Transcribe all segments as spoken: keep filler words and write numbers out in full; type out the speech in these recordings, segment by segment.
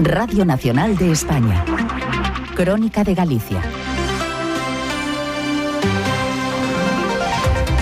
Radio Nacional de España. Crónica de Galicia.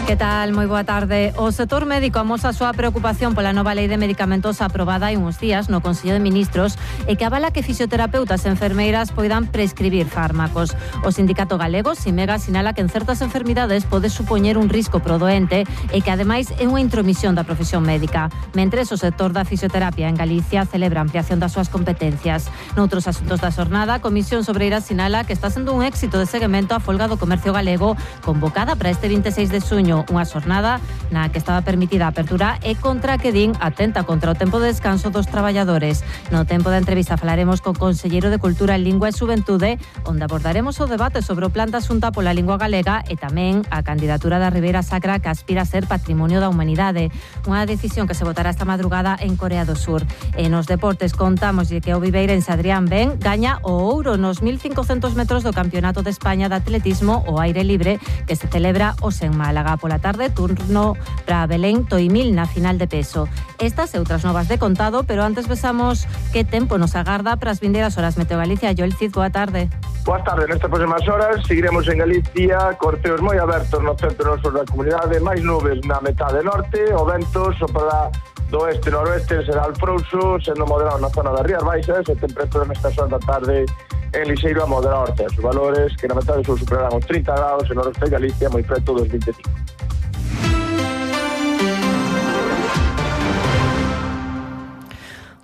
Que tal? Moi boa tarde. O sector médico amosa a súa preocupación pola nova lei de medicamentos aprobada hai uns días no Consello de Ministros e que avala que fisioterapeutas e enfermeiras poidan prescribir fármacos. O sindicato galego, Simega, sinala que en certas enfermidades pode supoñer un risco pro doente e que ademais é unha intromisión da profesión médica. Mentres, o sector da fisioterapia en Galicia celebra a ampliación das súas competencias. Noutros asuntos da xornada, a Comisión Sobreira sinala que está sendo un éxito de seguimento a folga do comercio galego convocada para este vinte e seis de xuño, unha xornada na que estaba permitida a apertura e contra que din atenta contra o tempo de descanso dos traballadores. No tempo da entrevista falaremos co conselleiro de Cultura, Lingua e Xuventude, onde abordaremos o debate sobre o plan da Xunta pola lingua galega e tamén a candidatura da Ribeira Sacra que aspira a ser Patrimonio da Humanidade. Unha decisión que se votará esta madrugada en Corea do Sur. E nos deportes contamos que o viveirense Adrián Ben gaña o ouro nos mil cincocentos metros do Campeonato de España de Atletismo ao aire libre que se celebra hoxe en Málaga. Pola tarde, turno para Belén Toimil na final de peso. Estas e outras novas de contado, pero antes besamos que tempo nos agarda para as vindeiras horas. Meteo Galicia, Joel Cid, boa tarde. Boa tarde, nestas próximas horas seguiremos en Galicia, corteos moi abertos no centro e no sur da comunidade, máis nubes na metade norte, o vento soprará do oeste-noroeste, será alfrouxo, sendo moderado na zona das Rías Baixas, e temperatura nestas horas da tarde en lixeiro a moderado norte. Os valores que na metade sur superarán os trinta graus, en noroeste de Galicia moi preto dos vinte e cinco.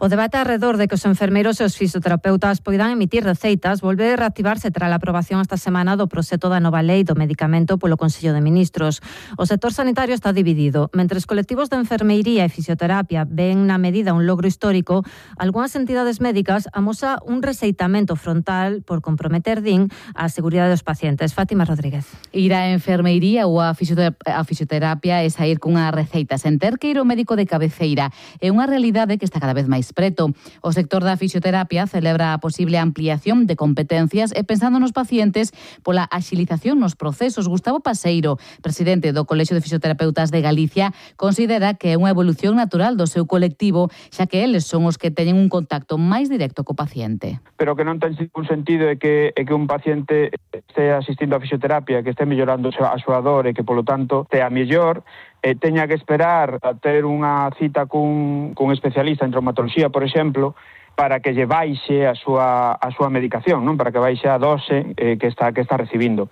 O debate alrededor de que os enfermeiros e os fisioterapeutas poidan emitir receitas volve a reactivarse tras a aprobación esta semana do proxecto da nova lei do medicamento polo Consello de Ministros. O sector sanitario está dividido. Mentres colectivos de enfermeiría e fisioterapia ven na medida un logro histórico, algunhas entidades médicas amosa un receitamento frontal por comprometer, din, a seguridade dos pacientes. Fátima Rodríguez. Ir á enfermeiría ou a fisioterapia é sair cunha receita sen ter que ir ao médico de cabeceira. É unha realidade que está cada vez máis preto. O sector da fisioterapia celebra a posible ampliación de competencias e pensando nos pacientes pola axilización nos procesos. Gustavo Paseiro, presidente do Colexio de Fisioterapeutas de Galicia, considera que é unha evolución natural do seu colectivo, xa que eles son os que teñen un contacto máis directo co paciente. Pero que non ten ningún sentido é que, é que un paciente este asistindo a fisioterapia, que este mellorando a súa dor e que, polo tanto, tea mellor, e teña que esperar a ter unha cita cun, cun especialista en traumatoloxía, por exemplo, para que lle baixe a súa, a súa medicación, non? Para que baixe a dose eh, que está que está recibindo.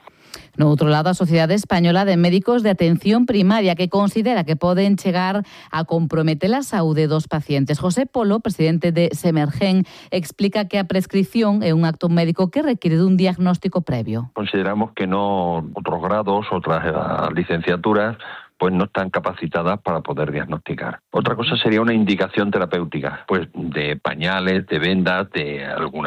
No outro lado, a Sociedade Española de Médicos de Atención Primaria, que considera que poden chegar a comprometer a saúde dos pacientes. José Polo, presidente de Semergen, explica que a prescripción é un acto médico que requiere dun diagnóstico previo. Consideramos que no outros grados, outras licenciaturas, pues no están capacitadas para poder diagnosticar. Otra cosa sería una indicación terapéutica, pues de pañales, de vendas, de algún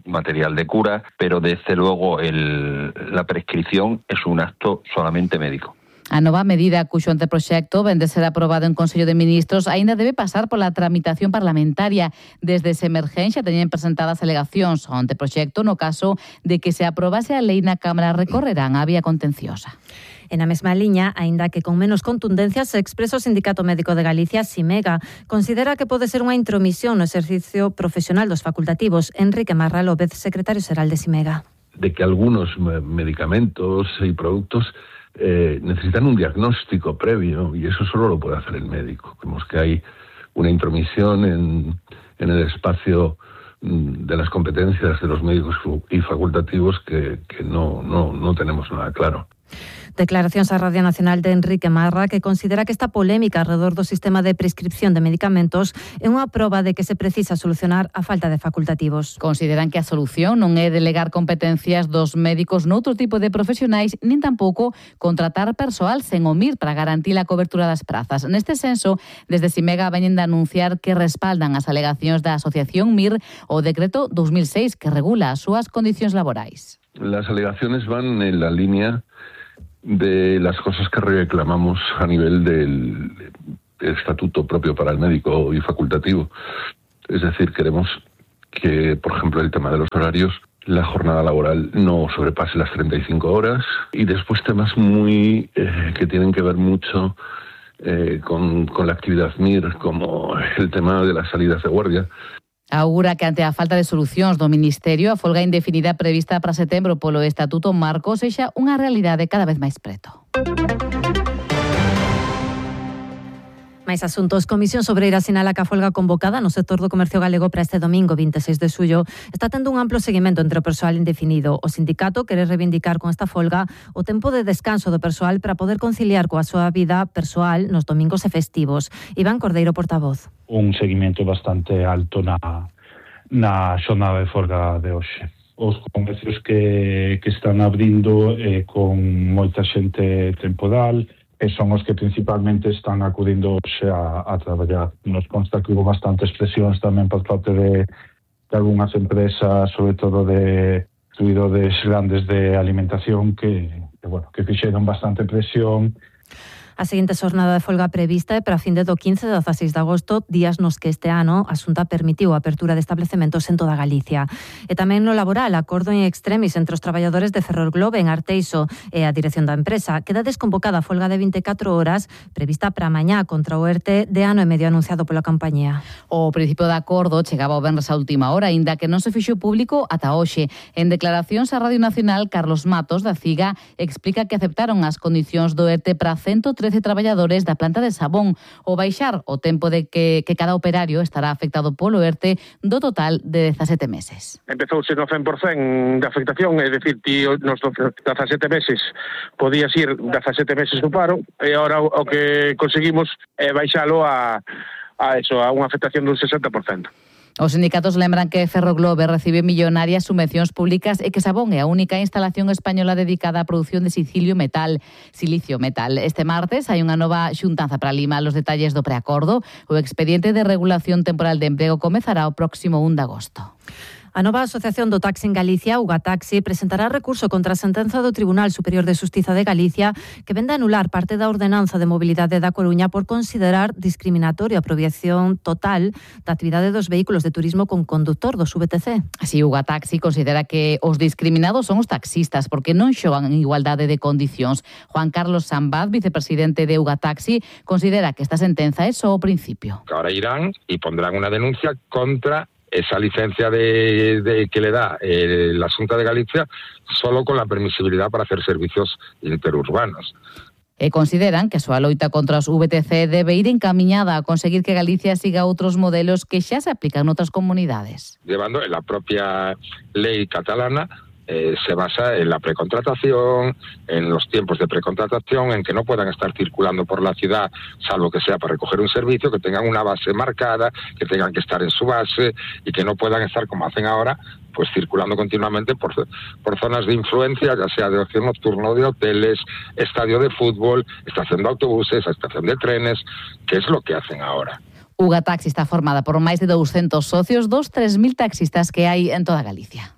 material de cura, pero desde luego el, la prescripción es un acto solamente médico. A nova medida cuxo anteproxecto vende ser aprobado en Consello de Ministros aínda debe pasar pola tramitación parlamentaria. Desde Semergen xa teñen presentadas alegacións ao anteproxecto no caso de que se aprobase a lei na Cámara recorrerán a vía contenciosa. En a mesma liña, aínda que con menos contundencia, se expresa o Sindicato Médico de Galicia, Simega. Considera que pode ser unha intromisión no exercicio profesional dos facultativos. Enrique Marra López, secretario xeral de Simega. De que algunos medicamentos y productos eh, necesitan un diagnóstico previo y eso solo lo puede hacer el médico. Vemos que hay una intromisión en, en el espacio de las competencias de los médicos y facultativos que, que no, no, no tenemos nada claro. Declaracións á Radio Nacional de Enrique Marra, que considera que esta polémica alrededor do sistema de prescripción de medicamentos é unha proba de que se precisa solucionar a falta de facultativos. Consideran que a solución non é delegar competencias dos médicos noutro tipo de profesionais, nin tampouco contratar persoal sen o M I R para garantir a cobertura das prazas. Neste senso, desde Simega veñen de anunciar que respaldan as alegacións da Asociación M I R o decreto dos mil seis que regula as súas condicións laborais. Las alegaciones van en la línea de las cosas que reclamamos a nivel del estatuto propio para el médico y facultativo. Es decir, queremos que, por ejemplo, el tema de los horarios, la jornada laboral no sobrepase las treinta y cinco horas, y después temas muy eh, que tienen que ver mucho eh, con, con la actividad M I R, como el tema de las salidas de guardia. Augura que ante a falta de solucións do Ministerio, a folga indefinida prevista para setembro polo Estatuto Marco sexa unha realidade cada vez máis preto. Máis asuntos. Comisión Sobreira sinala que a folga convocada no sector do comercio galego para este domingo vinte e seis de xullo está tendo un amplo seguimento entre o persoal indefinido. O sindicato quere reivindicar con esta folga o tempo de descanso do persoal para poder conciliar coa súa vida persoal nos domingos e festivos. Iván Cordeiro, portavoz. Un seguimento bastante alto na, na xornada de folga de hoxe. Os comercios que, que están abrindo eh, con moita xente temporal, e son os que principalmente están acudindo hoxe a, a traballar. Nos consta que hubo bastantes presións tamén por parte de, de algunhas empresas, sobre todo de distribuidores grandes de alimentación, que, que, bueno, que fixeron bastante presión. A seguinte xornada de folga prevista é para a fin de do quince e dezaseis de agosto, días nos que este ano a Xunta permitiu a apertura de establecementos en toda Galicia. E tamén no laboral, acordo en extremis entre os traballadores de Ferrolglobe en Arteixo e a dirección da empresa. Queda desconvocada a folga de vinte e catro horas prevista para mañá contra o ERTE de ano e medio anunciado pola compañía. O principio de acordo chegaba o venres a última hora, aínda que non se fixo público ata hoxe. En declaracións á Radio Nacional, Carlos Matos, da CIGA, explica que aceptaron as condicións do ERTE para ciento trece traballadores da planta de Sabón, o baixar o tempo de que, que cada operario estará afectado polo ERTE do total de dezasete meses. Empezouse no cen por cento de afectación, é dicir, ti nos dezasete meses podías ir dezasete meses do paro, e agora o que conseguimos é baixalo a, a, eso, a unha afectación dun sesenta por cento. Os sindicatos lembran que Ferroglobe recibe millonarias subvencións públicas e que Sabón é a única instalación española dedicada á produción de silicio metal, silicio metal. Este martes hai unha nova xuntanza para limar os detalles do preacordo. O expediente de regulación temporal de emprego comezará o próximo un de agosto. A nova Asociación do Taxi en Galicia, Ugataxi, presentará recurso contra a sentenza do Tribunal Superior de Xustiza de Galicia que vende a anular parte da ordenanza de mobilidade da Coruña por considerar discriminatoria a prohibición total da actividade dos vehículos de turismo con conductor dos V T C. Así, Ugataxi considera que os discriminados son os taxistas porque non xogan en igualdade de condicións. Juan Carlos Sambad, vicepresidente de Ugataxi, considera que esta sentenza é só o principio. Ahora irán y pondrán una denuncia contra esa licencia de, de que le da eh, la Xunta de Galicia solo con la permisibilidad para hacer servicios interurbanos. E consideran que a súa loita contra os V T C debe ir encamiñada a conseguir que Galicia siga outros modelos que xa se aplican noutras comunidades. Llevando en la propia ley catalana, Eh, se basa en la precontratación, en los tiempos de precontratación, en que no puedan estar circulando por la ciudad, salvo que sea para recoger un servicio, que tengan una base marcada, que tengan que estar en su base y que no puedan estar, como hacen ahora, pues circulando continuamente por, por zonas de influencia, ya sea de ocio nocturno, de hoteles, estadio de fútbol, estación de autobuses, estación de trenes, que es lo que hacen ahora. Ugataxi está formada por máis de doscientos socios, dos tres mil taxistas que hai en toda Galicia.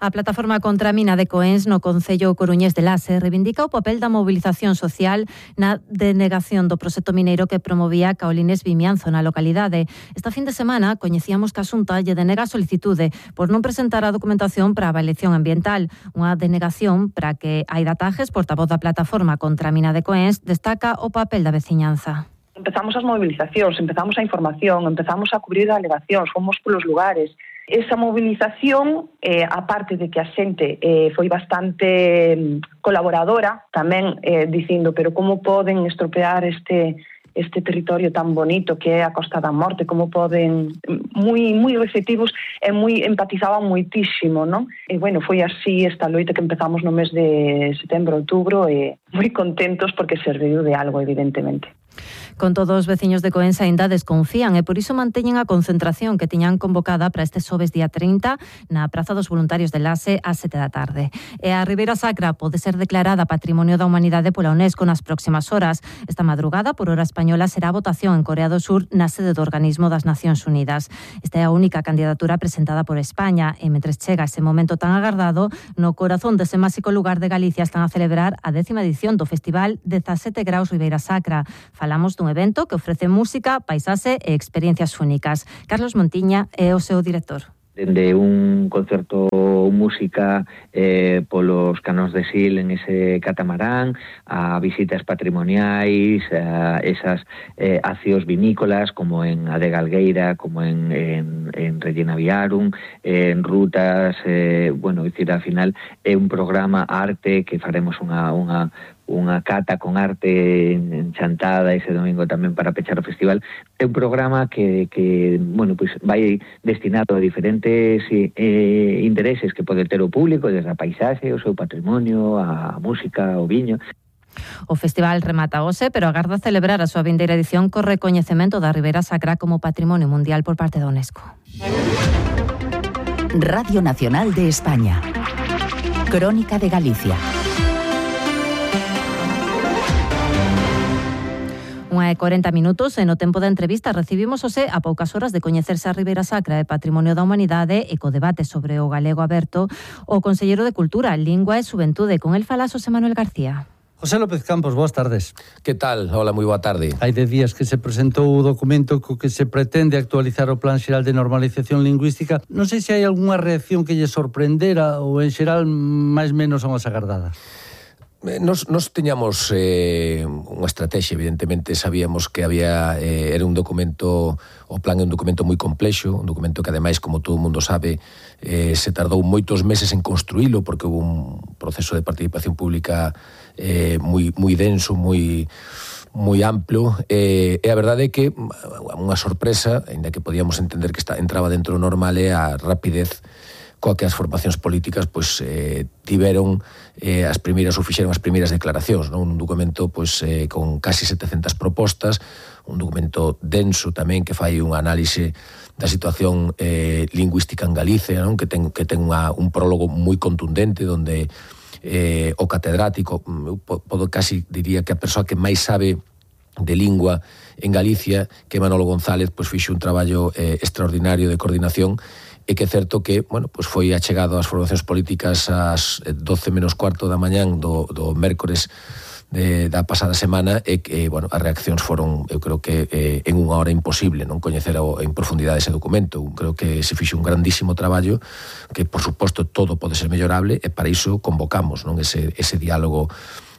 A plataforma contra a mina de Coens no concello coruñés de Laxe reivindica o papel da mobilización social na denegación do proxecto mineiro que promovía Caolines Vimianzo na localidade. Esta fin de semana coñecíamos que a Xunta lle denega a solicitude por non presentar a documentación para a avaliación ambiental. Unha denegación para que Aida Tajes, portavoz da plataforma contra a mina de Coens, destaca o papel da veciñanza. Empezamos as movilizacións, empezamos a información, empezamos a cubrir alegacións, fomos polos lugares. Esa movilización, eh, aparte de que a xente eh, foi bastante colaboradora, tamén eh, dicindo, pero como poden estropear este este territorio tan bonito que é a Costa da Morte, como poden, moi moi receptivos e moi empatizaban moitísimo, non? E bueno, foi así esta loita que empezamos no mes de setembro, outubro, e moi contentos porque serviu de algo, evidentemente. Con todo, os veciños de Coens aínda desconfían e por iso manteñen a concentración que tiñan convocada para este xoves día trinta na Praza dos Voluntarios de Laxe ás sete da tarde. E a Ribeira Sacra pode ser declarada Patrimonio da Humanidade pola UNESCO nas próximas horas. Esta madrugada, por hora española, será a votación en Corea do Sur na sede do Organismo das Nacións Unidas. Esta é a única candidatura presentada por España e mentres chega ese momento tan agardado, no corazón dese máxico lugar de Galicia están a celebrar a décima edición do Festival dezasete graus Ribeira Sacra. Falamos dun evento que ofrece música, paisaxe e experiencias únicas. Carlos Montiña é o seu director. Dende un concerto música eh, polos canóns de Sil en ese catamarán, a visitas patrimoniais, a esas eh, acios vinícolas como en Adegalgueira, como en, en, en Regina Viarum, en Rutas, eh, bueno, dicir, ao final é un programa arte que faremos unha, unha unha cata con arte en Chantada ese domingo tamén para pechar o festival. É un programa que, que bueno, pues vai destinado a diferentes eh, intereses que pode ter o público, desde a paisaxe, o seu patrimonio, a música, o viño. O festival remata hoxe, pero agarda celebrar a súa vindeira edición co recoñecemento da Ribeira Sacra como Patrimonio Mundial por parte da UNESCO. Radio Nacional de España. Crónica de Galicia. Unha e corenta minutos e no tempo da entrevista recibimos hoxe a poucas horas de coñecerse a Ribeira Sacra e Patrimonio da Humanidade e co debate sobre o galego aberto o Conselleiro de Cultura, Lingua e Xuventude. Con el fala José Manuel García. José López Campos, boas tardes. Que tal? Hola, moi boa tarde. Hai de días que se presentou o documento co que se pretende actualizar o Plan Xeral de Normalización Lingüística. Non sei se hai algunha reacción que lle sorprendera ou en xeral máis menos son as agardadas. Nos, nos teñamos eh, unha estrategia, evidentemente sabíamos que había eh, era un documento, o plan é un documento moi complexo, un documento que ademais, como todo o mundo sabe, eh, se tardou moitos meses en construílo porque houve un proceso de participación pública eh, moi, moi denso, moi moi amplo, eh, e a verdade é que unha sorpresa, ainda que podíamos entender que está, entraba dentro normal, é a rapidez coa que as formacións políticas pois, eh, tiveron eh, as primeiras ou fixeron as primeiras declaracións, non? Un documento pois, eh, con casi setecentas propostas, un documento denso tamén que fai unha análise da situación eh, lingüística en Galicia, non? Que ten, que ten unha, un prólogo moi contundente onde eh, o catedrático, eu podo casi diría que a persoa que máis sabe de lingua en Galicia, que Manolo González, pois fixo un traballo eh, extraordinario de coordinación. E que é certo que, bueno, pues foi achegado ás formacións políticas ás doce menos cuarto da mañán do, do mércores de, da pasada semana e que, bueno, as reaccións foron, eu creo que eh, en unha hora imposible non coñecer o, en profundidade ese documento. Creo que se fixo un grandísimo traballo que, por suposto, todo pode ser mellorable e para iso convocamos non ese, ese diálogo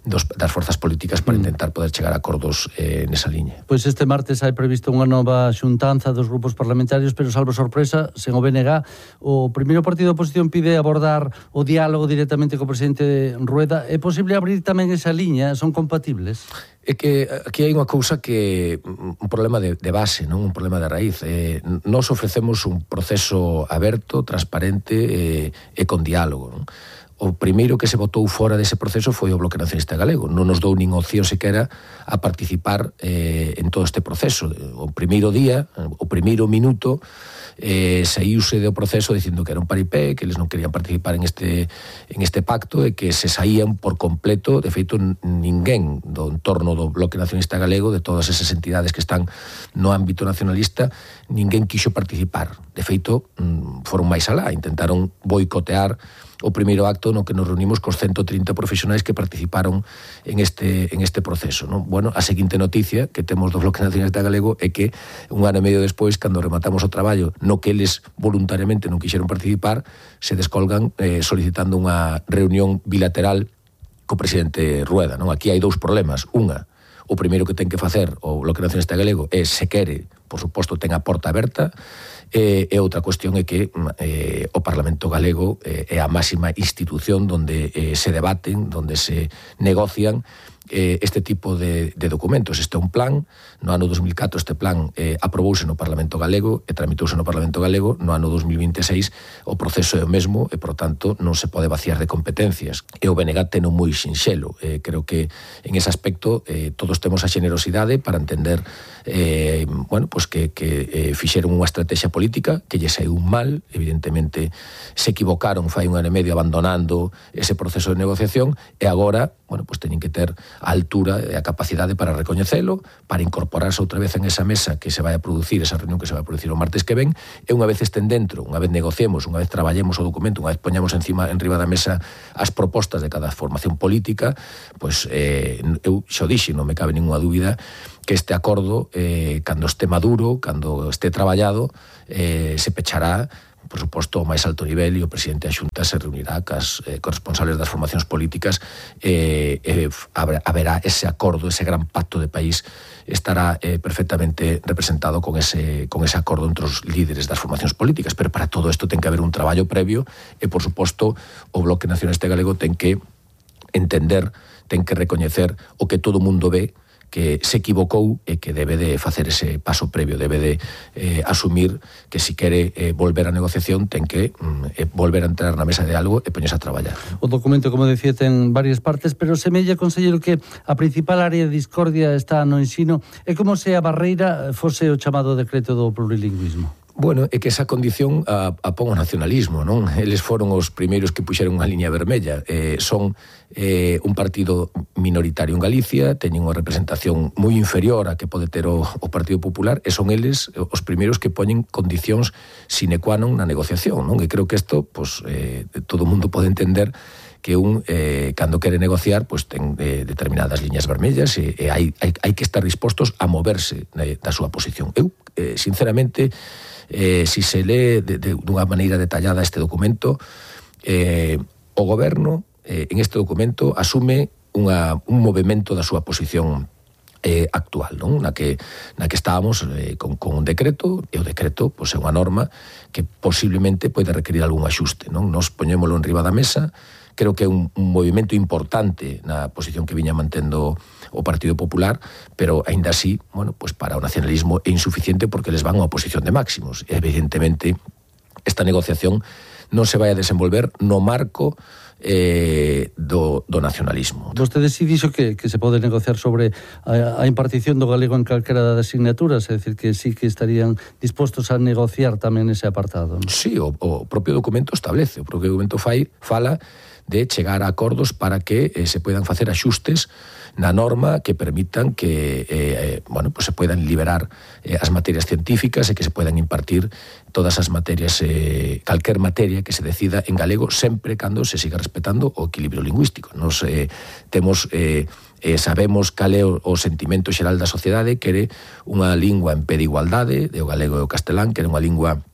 dos, das forzas políticas para intentar poder chegar a acordos eh, nesa liña. Pois este martes hai previsto unha nova xuntanza dos grupos parlamentarios, pero salvo sorpresa, sen o B N G, o primeiro partido de oposición pide abordar o diálogo directamente co presidente Rueda. É posible abrir tamén esa liña? Son compatibles? É que aquí hai unha cousa que un problema de, de base, non un problema de raíz. Eh, nos ofrecemos un proceso aberto, transparente eh, e con diálogo, non? O primeiro que se votou fora dese proceso foi o Bloque Nacionalista Galego. Non nos dou nin opción sequera a participar eh, en todo este proceso. O primeiro día, o primeiro minuto, eh, saíuse do proceso dicindo que era un paripé, que eles non querían participar en este, en este pacto e que se saían por completo. De feito, ninguén do entorno do Bloque Nacionalista Galego, de todas esas entidades que están no ámbito nacionalista, ninguén quixo participar. De feito, foron máis alá, intentaron boicotear o primeiro acto no que nos reunimos cos ciento trinta profesionais que participaron en este, en este proceso, non? Bueno, a seguinte noticia que temos do Bloque Nacionalista Galego é que un ano e medio despois, cando rematamos o traballo no que eles voluntariamente non quixeron participar, se descolgan eh, solicitando unha reunión bilateral co presidente Rueda, non? Aquí hai dous problemas. Unha, o primeiro que ten que facer o Bloque Nacionalista Galego é, se quere, por suposto, ten a porta aberta. E, e outra cuestión é que eh, o Parlamento Galego eh, é a máxima institución donde eh, se debaten, donde se negocian eh, este tipo de, de documentos. Este é un plan, no ano dos mil catro este plan eh, aprobouse no Parlamento Galego e tramitouse no Parlamento Galego. No ano dos mil vinte e seis o proceso é o mesmo e, por tanto, non se pode vaciar de competencias. E o B N G ten un moi sinxelo. Eh, creo que en ese aspecto eh, todos temos a xenerosidade para entender eh, bueno, pues que, que eh, fixeron unha estrategia política que lle saiu mal, evidentemente se equivocaron fai un ano e medio abandonando ese proceso de negociación e agora, bueno, pues teñen que ter a altura e a capacidade para recoñecelo, para incorporarse outra vez en esa mesa que se vai a producir, esa reunión que se vai a producir o martes que ven, e unha vez estén dentro, unha vez negociemos, unha vez traballemos o documento, unha vez poñamos encima, en riba da mesa as propostas de cada formación política, pois eh, eu xo dixe, non me cabe ninguna dúbida que este acordo, eh, cando este maduro, cando este traballado, eh, se pechará por suposto, ao máis alto nivel, e o presidente da Xunta se reunirá cas eh, corresponsables das formacións políticas e eh, eh, haberá ese acordo, ese gran pacto de país estará eh, perfectamente representado con ese, con ese acordo entre os líderes das formacións políticas, pero para todo isto ten que haber un traballo previo e, por suposto, o Bloque Nacionalista Galego ten que entender, ten que recoñecer o que todo o mundo ve, que se equivocou e que debe de facer ese paso previo, debe de eh, asumir que si quere eh, volver á negociación ten que mm, eh, volver a entrar na mesa de algo e poñerse a traballar. O documento, como decía, ten varias partes, pero semella, conselleiro, que a principal área de discordia está no ensino e como se a barreira fose o chamado decreto do plurilingüismo. Bueno, é que esa condición a, a pon o nacionalismo, non? Eles foron os primeiros que puxeron unha liña vermella. Eh, son eh, un partido minoritario en Galicia, teñen unha representación moi inferior a que pode ter o, o Partido Popular, e son eles os primeiros que poñen condicións sine qua non na negociación, non? E creo que isto, pues, eh, todo o mundo pode entender que un, eh, cando quere negociar, pues, ten eh, determinadas liñas vermellas e, e hai, hai, hai que estar dispostos a moverse eh, da súa posición. Eu, eh, sinceramente, Eh, si se lee de, de, dunha maneira detallada este documento, eh, o goberno eh, en este documento asume unha, un movimento da súa posición eh, actual, non? Na que, na que estábamos eh, con, con un decreto, e o decreto, pois, é unha norma que posiblemente pode requerir algún axuste, non? Nos poñémolo en riba da mesa. Creo que é un, un movimento importante na posición que viña mantendo o Partido Popular, pero aínda así, bueno, pues para o nacionalismo é insuficiente porque les van a oposición de máximos. E, evidentemente, esta negociación non se vai a desenvolver no marco eh, do, do nacionalismo. Vostede si dixo que, que se pode negociar sobre a, a impartición do galego en calquera das asignaturas, é dicir, que sí que estarían dispostos a negociar tamén ese apartado, non? Sí, o, o propio documento establece, o propio documento fai, fala de chegar a acordos para que eh, se puedan facer axustes na norma que permitan que eh, bueno, pues se puedan liberar eh, as materias científicas e que se puedan impartir todas as materias, eh, calquer materia que se decida en galego, sempre cando se siga respetando o equilibrio lingüístico. Nos eh, temos... Eh, Eh, sabemos cal é o, o sentimento xeral da sociedade, quere unha lingua en pé de igualdade, de o galego e o castelán, quere unha lingua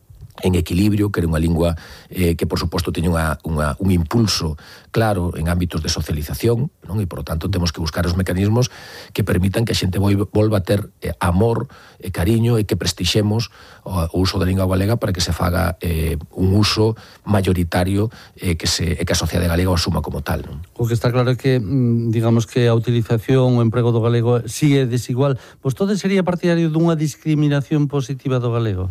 en equilibrio, que era unha lingua eh, que, por suposto, teña unha, unha, un impulso claro en ámbitos de socialización, non? E, por lo tanto, temos que buscar os mecanismos que permitan que a xente volva a ter eh, amor e cariño e que prestixemos o, o uso da lingua galega para que se faga eh, un uso mayoritario e eh, que, se, eh, que a sociedade galega o asuma como tal, non? O que está claro é que, digamos que a utilización, o emprego do galego si é desigual. Vostede sería partidario dunha discriminación positiva do galego?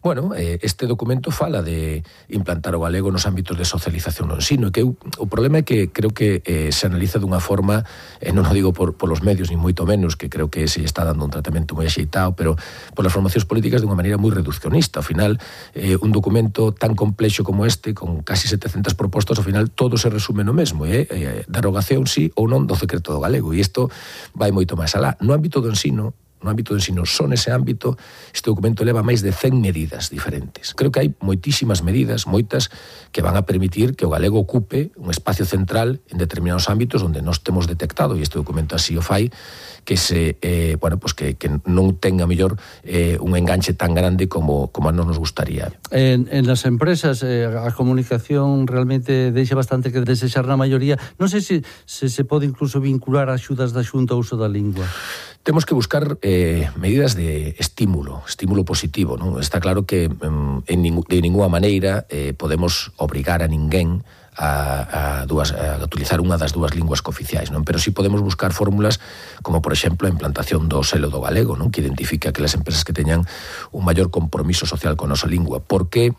Bueno, eh, este documento fala de implantar o galego nos ámbitos de socialización no ensino, que eu, o problema é que creo que eh, se analiza dunha forma, eh, non o digo por, por los medios, ni moito menos, que creo que se está dando un tratamento moi axeitado, pero por las formacións políticas dunha maneira moi reduccionista. Ao final, eh, un documento tan complexo como este, con casi setecentas propostas, ao final todo se resume no mesmo, eh? eh derogación sí ou non do decreto do galego, e isto vai moito máis alá. No ámbito do ensino, no ámbito do ensino, son ese ámbito, este documento leva máis de cen medidas diferentes. Creo que hai moitísimas medidas, moitas, que van a permitir que o galego ocupe un espacio central en determinados ámbitos onde nós temos detectado, e este documento así o fai, que se eh, bueno, pues que, que non tenga mellor eh, un enganche tan grande como, como a non nos gustaría. En, en las empresas eh, a comunicación realmente deixa bastante que desexar na maioría. Non sei se, se se pode incluso vincular a axudas da Xunta ao uso da lingua. Temos que buscar eh, medidas de estímulo, estímulo positivo, non? Está claro que mm, en ning- de ninguna maneira eh, podemos obrigar a ninguén a, a, dúas, a utilizar unha das dúas linguas cooficiais, non? Pero sí podemos buscar fórmulas como, por exemplo, a implantación do selo do galego, non? Que identifica que as empresas que teñan un maior compromiso social con a nosa lingua. Por que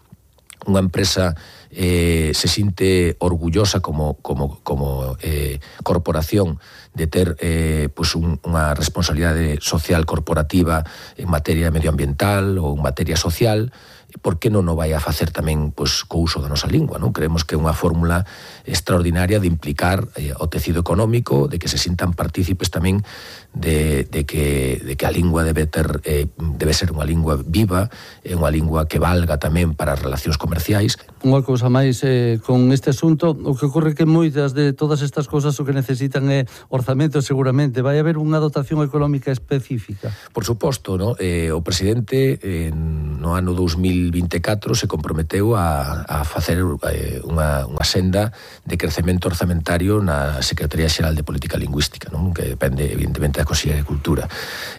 unha empresa eh, se sinte orgullosa como, como, como eh, corporación de ter eh, pues un, unha responsabilidade social corporativa en materia medioambiental ou en materia social? Por que non o vai a facer tamén pues, co uso da nosa lingua, non? Creemos que é unha fórmula extraordinaria de implicar eh, o tecido económico, de que se sintan partícipes tamén de, de, que, de que a lingua debe ter eh, debe ser unha lingua viva, é unha lingua que valga tamén para as relacións comerciais. Unha cousa máis eh, con este asunto, o que ocorre que moitas de todas estas cousas o que necesitan é orzamento, seguramente. Vai haber unha dotación económica específica? Por suposto, no? Eh, o presidente eh, no ano dous mil mil vinte e catro se comprometeu a, a facer eh, unha, unha senda de crecemento orzamentario na Secretaría Xeral de Política Lingüística, non? Que depende evidentemente da Consellería de Cultura,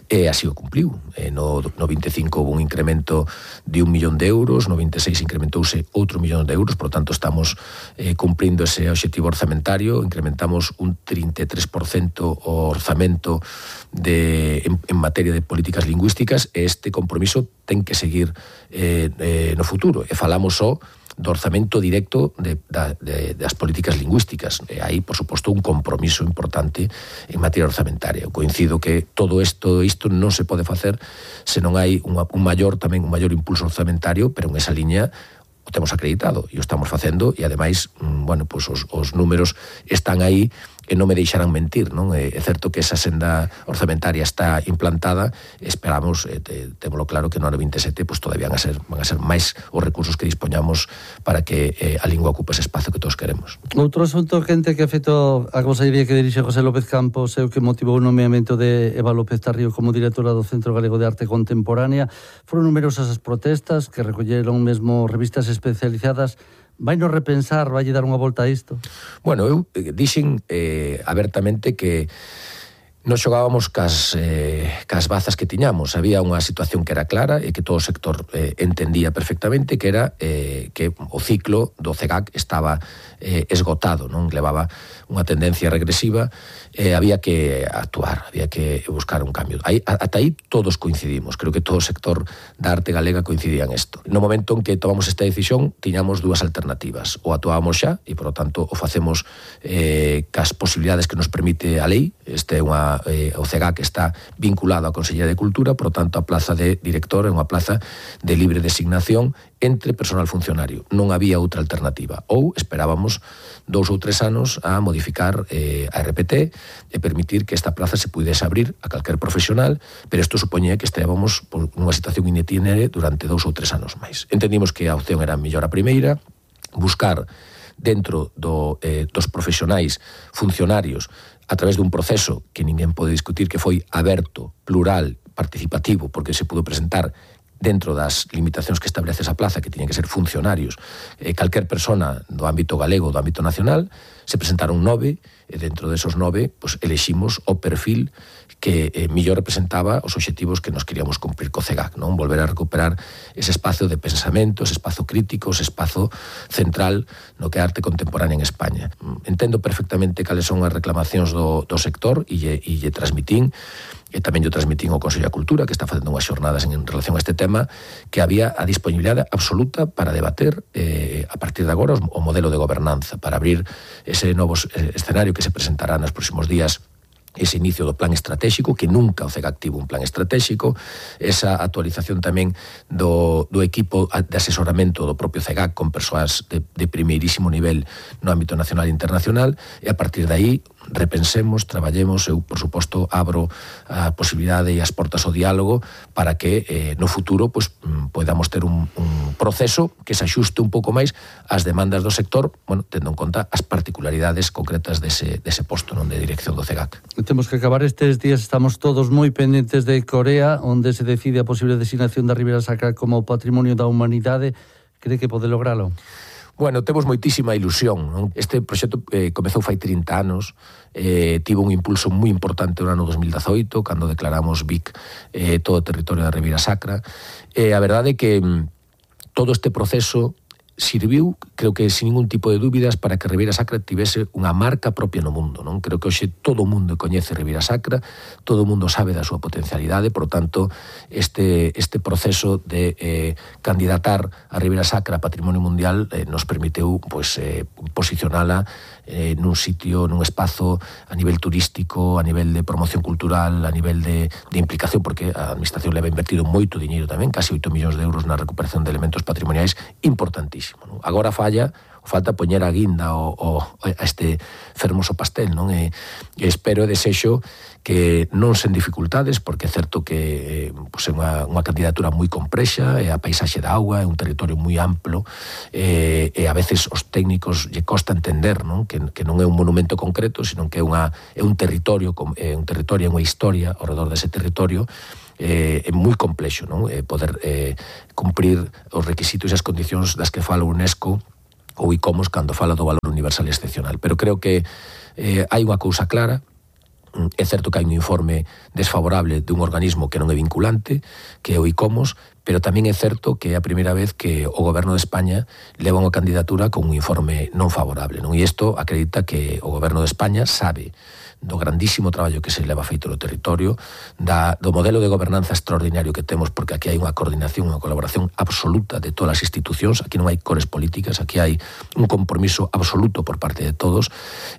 e así o cumpliu. Eh, no, no vinte e cinco houve un incremento de un millón de euros, no vinte e seis incrementouse outro millón de euros, por tanto estamos eh, cumprindo ese obxectivo orzamentario, incrementamos un trinta e tres por cento o orzamento de, en, en materia de políticas lingüísticas, e este compromiso ten que seguir eh, eh, no futuro, e falamos só do orzamento directo de, de, de, das políticas lingüísticas. E hai, por suposto, un compromiso importante en materia orzamentaria. Eu coincido que todo isto, isto non se pode facer se non hai unha, un maior tamén un maior impulso orzamentario, pero en esa liña o temos acreditado e o estamos facendo, e ademais, bueno, pues os, os números están aí e non me deixarán mentir, non? É certo que esa senda orzamentaria está implantada, esperamos, eh, témolo claro, que no ano vinte e sete pues, todavía van a ser, van a ser máis os recursos que dispoñamos para que eh, a lingua ocupe ese espazo que todos queremos. Outro asunto quente que afectou a consellería que dirixe José López Campos é o que motivou o nomeamento de Eva López Tarrío como directora do Centro Galego de Arte Contemporánea. Foron numerosas as protestas que recolleron mesmo revistas especializadas. Vai nos repensar, vai dar unha volta a isto? Bueno, eu dixen eh, abertamente que nos xogábamos cas, eh, cas bazas que tiñamos. Había unha situación que era clara e que todo o sector eh, entendía perfectamente, que era eh, que o ciclo do CEGAC estaba eh, esgotado, non levaba unha tendencia regresiva, e eh, había que actuar, había que buscar un cambio. Aí, ata aí todos coincidimos, creo que todo o sector da arte galega coincidía en isto. No momento en que tomamos esta decisión, tiñamos dúas alternativas. O actuábamos xa, e por lo tanto o facemos eh, cas posibilidades que nos permite a lei. Este é unha, eh, o CEGAC está vinculado á Consellería de Cultura, por lo tanto a plaza de director é unha plaza de libre designación entre personal funcionario. Non había outra alternativa. Ou esperábamos dous ou tres anos a modificar eh, a R P T e permitir que esta plaza se pudese abrir a calquer profesional, pero isto supoñía que estábamos por unha situación in itinere durante dous ou tres anos máis. Entendimos que a opción era mellor a primeira, buscar dentro do, eh, dos profesionais funcionarios a través dun proceso que ninguén pode discutir, que foi aberto, plural, participativo, porque se pudo presentar dentro das limitacións que establece esa plaza, que tiñen que ser funcionarios, eh, calquer persona do ámbito galego, do ámbito nacional. Se presentaron nove, e dentro desos nove, pues, eleximos o perfil que eh, mellor representaba os obxectivos que nos queríamos cumprir co CEGAC, non? Volver a recuperar ese espazo de pensamento, ese espazo crítico, ese espazo central no que é a arte contemporánea en España. Entendo perfectamente cales son as reclamacións do, do sector e lle, e lle transmitín, e tamén yo transmitín ao Consello de Cultura, que está facendo unhas xornadas en, en relación a este tema, que había a disponibilidade absoluta para debater eh, a partir de agora o modelo de gobernanza, para abrir ese novo escenario que se presentará nos próximos días, ese inicio do plan estratégico, que nunca o CEGAC tivo un plan estratégico, esa actualización tamén do, do equipo de asesoramento do propio CEGAC con persoas de, de primeirísimo nivel no ámbito nacional e internacional, e a partir de aí repensemos, traballemos. Eu, por suposto, abro a posibilidade e as portas ao diálogo para que eh, no futuro pues, podamos ter un, un proceso que se axuste un pouco máis ás demandas do sector, bueno, tendo en conta as particularidades concretas dese, dese posto non de dirección do CEGAC. Temos que acabar estes días, estamos todos moi pendentes de Corea, onde se decide a posible designación da Ribeira Sacra como Patrimonio da Humanidade. Cree que pode logralo? Bueno, temos moitísima ilusión, non? Este proxecto eh, comezou fai trinta anos, eh, tivo un impulso moi importante no ano dos mil dezoito, cando declaramos V I C eh, todo o territorio da Ribeira Sacra. Eh, a verdade é que mm, todo este proceso serviu, creo que sin ningún tipo de dúbidas, para que Ribeira Sacra tivese unha marca propia no mundo, non? Creo que hoxe todo o mundo coñece Ribeira Sacra, todo o mundo sabe da súa potencialidade, por tanto, este, este proceso de eh, candidatar a Ribeira Sacra a Patrimonio Mundial eh, nos permiteu pues, eh, posicionala eh, nun sitio, nun espazo a nivel turístico, a nivel de promoción cultural, a nivel de, de implicación, porque a Administración leva invertido moito diñeiro tamén, casi oito millóns de euros na recuperación de elementos patrimoniais importantísimos. Agora falla, falta poñer a guinda o, o, a este fermoso pastel, non? E, e espero e desexo que non sen dificultades, porque é certo que pues, é unha, unha candidatura moi complexa, é a paisaxe da auga, é un territorio moi amplo, e, e a veces os técnicos lle costa entender, non? Que, que non é un monumento concreto, sino que é, unha, é un territorio, é un territorio, é unha historia ao redor dese territorio, eh, é moi complexo, non? Eh, poder eh, cumprir os requisitos e as condicións das que fala a UNESCO ou ICOMOS cando fala do valor universal e excepcional. Pero creo que eh, hai unha cousa clara. É certo que hai un informe desfavorable dun organismo que non é vinculante, que é o ICOMOS, pero tamén é certo que é a primeira vez que o Goberno de España leva unha candidatura con un informe non favorable, non? E isto acredita que o Goberno de España sabe do grandísimo traballo que se leva feito no territorio, da, do modelo de gobernanza extraordinario que temos, porque aquí hai unha coordinación, unha colaboración absoluta de todas as institucións, aquí non hai cores políticas, aquí hai un compromiso absoluto por parte de todos,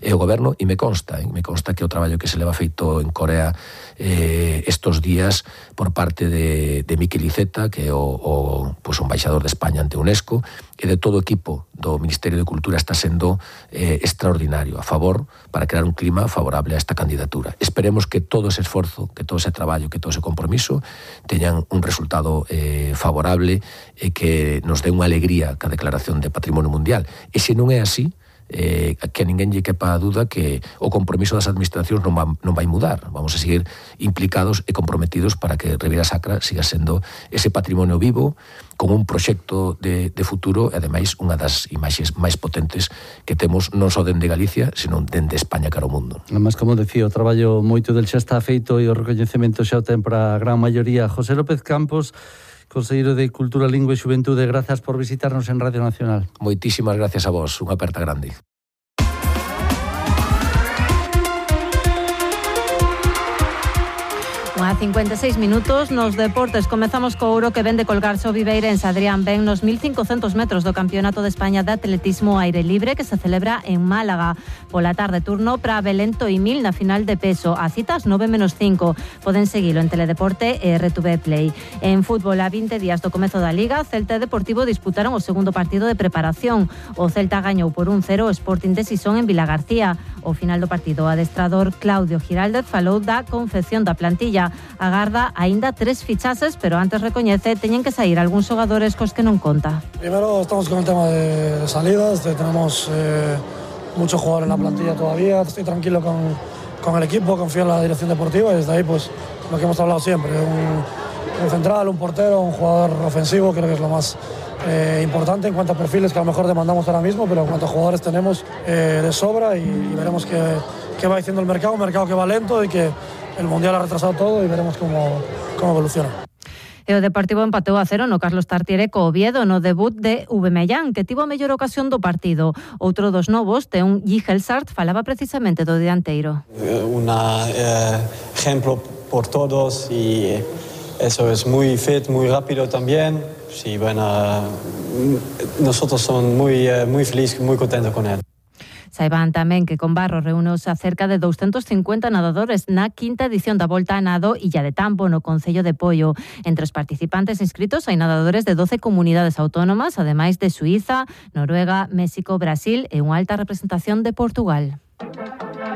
e o goberno, e me consta, e me consta que o traballo que se leva feito en Corea eh, estos días por parte de, de Miquel Iceta, que é o, o, pues, o embaixador de España ante UNESCO, e de todo o equipo do Ministerio de Cultura está sendo eh, extraordinario, a favor, para crear un clima favorable a esta candidatura. Esperemos que todo ese esforzo, que todo ese traballo, que todo ese compromiso teñan un resultado eh, favorable e que nos dé unha alegría ca declaración de Patrimonio Mundial. E se non é así, eh, que a ninguén lle quepa a duda que o compromiso das administracións non, va, non vai mudar. Vamos a seguir implicados e comprometidos para que Ribeira Sacra siga sendo ese patrimonio vivo, con un proxecto de, de futuro e, ademais, unha das imaxes máis potentes que temos non só dende Galicia, senón dende España cara ao mundo. Además, como decía, o traballo moito del xa está feito e o recoñecemento xa o ten para a gran maioría. José López Campos, Conselleiro de Cultura, Lingua e Xuventude, grazas por visitarnos en Radio Nacional. Moitísimas gracias a vos, unha aperta grande. A cincuenta e seis minutos nos deportes. Comezamos co ouro que vende colgarse o Viveirense. Adrián Ben nos mil cincocentos metros do Campeonato de España de Atletismo Aire Libre que se celebra en Málaga. Pola tarde turno para Belén Toimil na final de peso. A citas nove menos cinco. Poden seguilo en Teledeporte e R T V Play. En fútbol, a vinte días do comezo da Liga, Celta e Deportivo disputaron o segundo partido de preparación. O Celta gañou por un cero o Sporting de Sison en Vilagarcía. O final do partido, o adestrador Claudio Giraldez falou da confección da plantilla. Agarda aínda tres fichases, pero antes recoñece teñen que sair algúns xogadores cos que non conta. Primero estamos con el tema de salidas, de, tenemos eh, mucho jugador en la plantilla todavía, estoy tranquilo con, con el equipo, confío en la dirección deportiva y desde ahí pues lo que hemos hablado siempre, un, un central, un portero, un jugador ofensivo, creo que es lo más eh, importante en cuanto a perfiles que a lo mejor demandamos ahora mismo, pero en cuanto a jugadores tenemos eh, de sobra y, y veremos qué, qué va diciendo el mercado, un mercado que va lento y que el Mundial ha retrasado todo y veremos cómo, cómo evoluciona. E o Deportivo empatou a cero no Carlos Tartiere co Oviedo no debut de Ubemellán, que tivo a mellor ocasión do partido. Outro dos novos, Teun Gijelsart, falaba precisamente do dianteiro. Un eh, ejemplo por todos y eso es muy fit, muy rápido también. Sí, bueno, nosotros somos muy, muy felices, muy contentos con él. Saiban tamén que con Barro reúneos a cerca de doscientos cincuenta nadadores na quinta edición da Volta a Nado Illa de Tambo no Concello de Poio. Entre os participantes inscritos hai nadadores de doce comunidades autónomas, ademais de Suíza, Noruega, México, Brasil e unha alta representación de Portugal.